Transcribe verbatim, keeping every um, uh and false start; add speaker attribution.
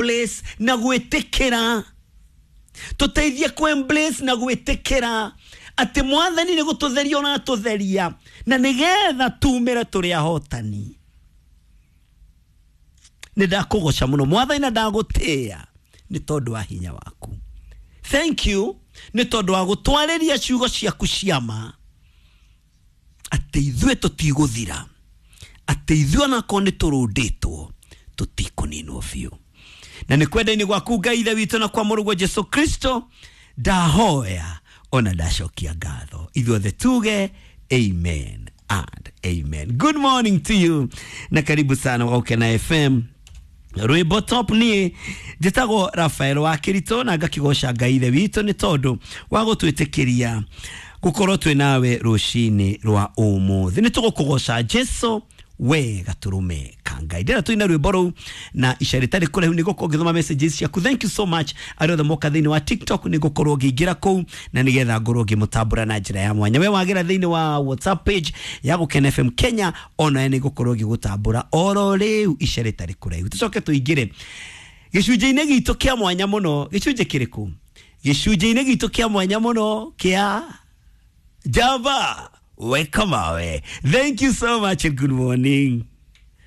Speaker 1: embrace na gwĩtĩkĩra, tũteithie kũ embrace na gwĩtĩkĩra atĩ Mwathani nĩ gũtũtheria ũratũtheria, na nĩgetha tumĩre tũrĩ ahotani. Nĩ ndakũgoca mũno Mwathani na ndagũtĩĩa nĩ tondũ wa hinya waku. Thank you nĩ tondũ wa gũtwarĩria ciugo ciaku ciama atĩ ithuĩ tũtigũthira, atĩ ithuĩ onakorwo nĩ tũrũndĩtwo tũtikũninwo biũ. Na nĩ kwenda-inĩ gwaku Ngai Ithe witũ na kwa Mũrũguo Jesu Kristo ndahoya ona ndacokia ngatho. Ithuothe tuge amen and amen. Good morning to you na karibu sana wa Gukena F M. Rwimbo top niĩ njĩtagwo Rafael wa Kĩritũ na ngakĩgoca Ngai Ithe witũ nĩ tondũ wa gũtwĩtĩkĩria gũkorwo twĩ nawe rũcinĩ rwa ũmũthĩ. Nĩ tũgũkũgoca Jesu we gatũrũme ka Ngai. Ndĩra tũina rwĩmbo rũu na ica rĩtarĩ kũraihu nĩ ngũkorwo ngĩthoma messages ciaku. Thank you so much arĩa othe moka thĩinĩ wa TikTok, nĩ ngũkorwo ngĩingĩra kũu na nĩgetha ngorwo ngĩmũtambũra na njĩra ya mwanya. We wagĩra thĩinĩ wa WhatsApp page ya Gukena F M Kenya, onawe nĩ ngũkorwo ngĩgũtambũra oro rĩu ica rĩtarĩ kũraihu. Tũcoke tũingĩre gĩcunjĩ-inĩ gitũ kĩa mwanya mũno. Gĩcunjĩ kĩrĩkũ? Gĩcunjĩ-inĩ gitũ kĩa mwanya mũno kĩa Java Weka Mawe. Thank you so much and good morning.